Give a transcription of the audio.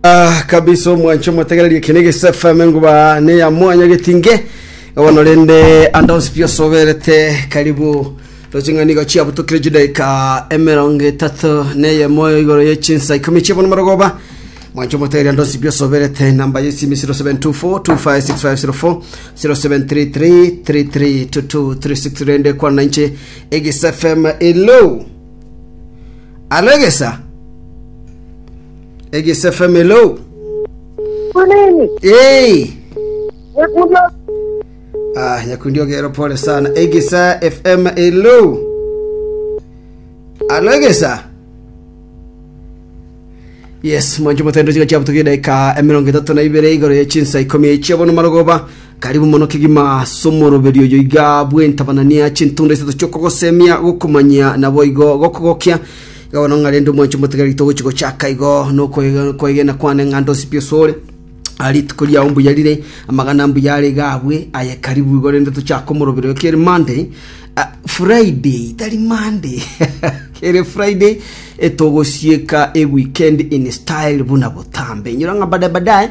Ah, kabisa omwancho omotegererie eke negese FM enguba neya mwanya getinge bono rende andonsi pi osoberete karibu roche ng'a nigo chiabutokire chidaika emerongo etato neyemo igoro ye chinsa ikomi chiabono marogoba mwancho omotegereria andonsi pi osoberete namba yesimi 0724 256504 0733 332236 rende kwana inche egese FM hello alo egesa Egese FM hello. Kunini? Hey. Nyakundi Ah, nyakundi ogero pole sana. Egesa FM hello. Alo Egesa. Yes, mwancho motendo chiga chiabutuki dakika 32 igoro ye chinsa 10 chiabono marogoba. Karibu mono kegima somoroberio oyo iga bwentabanania chintunda isato chiokogosemia gokomanyia nabo igo gokogokia Iga bono ng'a rende omwancho omotigari togochi gochaka igo nokoegena kwane ng'a ndonsi pi osore Ah, rituko riao mbuya rire amagana mbuya are iga abwe aye karibu igo rende tochake omorobero kere Monday ah, Friday tari Monday kere Friday etogosieka e weekend in style buna botambe inyora ng'a baadaye baadaye.